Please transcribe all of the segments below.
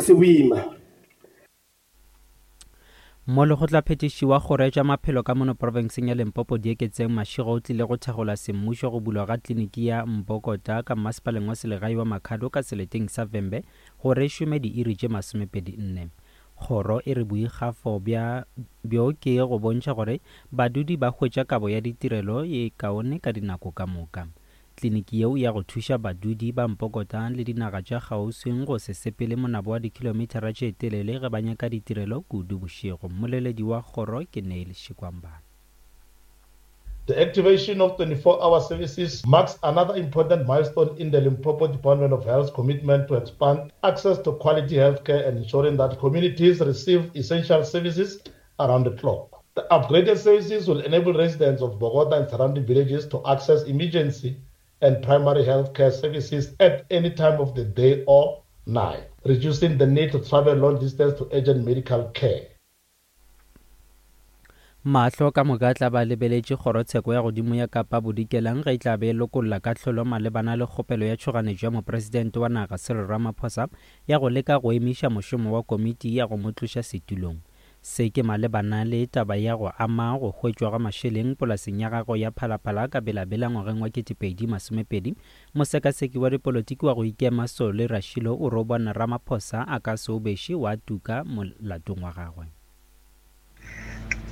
se boima. Mo lekgotlaphethiši wa Kgoro ya tša Maphelo ka mono profenseng ya Limpopo Dieketseng Mashego o tlile go thakgola semmušo go bulwa ga kliniki ya Mbokota ka mmasepaleng wa selegae wa Makhado ka seleteng sa Vhembe gore e šome diiri tše masomepedi-nne. Kgoro e re boikgafo bja bjo ke go bontšha gore badudi ba hwetša kabo ya ditirelo ye kaone ka dinako ka moka. Kliniki yeo ya go thuša badudi ba Mpokota le dinaga tša kgauswing go se sepele monabo wa dikhilomithara tše telele ge ba nyaka ditirelo kudu bošego. Mmoleledi wa kgoro ke Neil Shikwambana. The activation of 24-hour services marks another important milestone in the Limpopo Department of Health's commitment to expand access to quality healthcare and ensuring that communities receive essential services around the clock. The upgraded services will enable residents of Bogota and surrounding villages to access emergency and primary health care services at any time of the day or night, reducing the need to travel long distance to urgent medical care. Mahlo ka moka a tla ba a lebeletše Kgorotsheko ya Godimo ya Kapa Bodikelang ge e tla be e lokolla kahlolo malebana le kgopelo ya tšhoganetšo ya Mopresidente wa naga Cyril Ramaphosa ya go leka go emiša mošomo wa komiti ya go mo tloša setulong. Se ke malebana le taba ya go ama go hwetšwa ga mašeleng polaseng ya gagwe ya Phalaphala ka Bela-Bela ngwageng wa 2020. Mosekaseki wa dipolotiki wa go ikema Solly Rashilo o re o bona Ramaphosa a ka se o beše wa tuka molatong wa gagwe.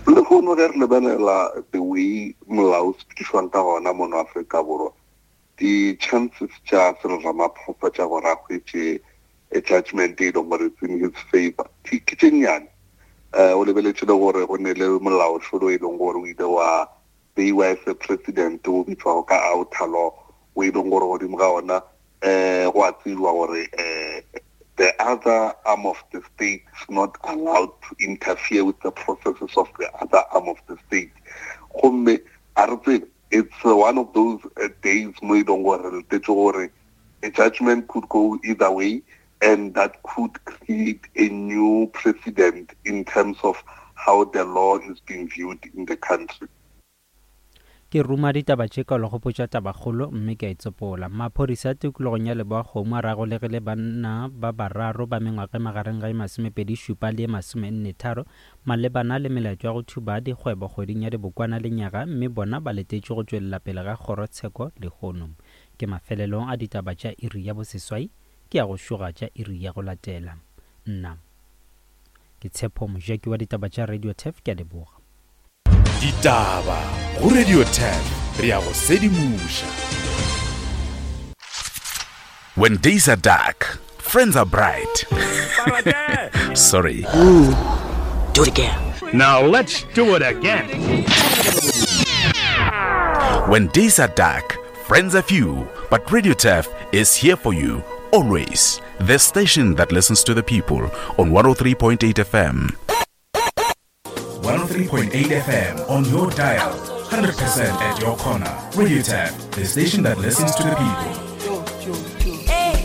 Lehono ge re lebelela the way molao o sepedišwang ka gona mono Afrika Borwa, di-chances tša Cyril Ramaphosa tša gore a hwetše a judgment e leng gore it's in his favor ke tše nnyane. Um o lebeletše le gore go ne le molaošolo e leng gore o ile wa beiwa as a president o bitšwago ka outer law o e leng gore godimo ga ona um go a tsejwa gore um the other arm of the state is not allowed to interfere with the processes of the other arm of the state. Gomme a re tsebe it's one of those uh, days mo e leng gore re letetse gore a judgment could go either way and that could create a new precedent in terms of how the law is being viewed in the country. Ke ruma ditaba tše ka gopotša tabakgolo mme ke a itsopola. Maphodisa tikologong ya Leboa-Kgomo a ragolegile banna ba bararo ba mengwaga e magareng ga e masomepedi šupa le e masomenne tharo malebana le melato ya go thuba dikgwebo kgweding ya Dibokwana lenyaga mme bona ba letetšwe go tšwelela pele ga kgorotsheko lehono. Ke mafelelo a ditaba tša iri ya boseswai, ke ya go šoga tša iri ya go latela. Nna ke Tshepo Mojaki wa ditaba tša Radio Turf, ke a leboga. Ditaba go Radio Turf, re ya go sedimoša. When days are dark, friends are bright. Sorry. Ooh, do it again. Now let's do it again. When days are dark, friends are few, but Radio Turf is here for you always. The station that listens to the people on 103.8 FM. 103.8 FM on your dial, 100% at your corner. Radio Tap, the station that listens to the people. Hey.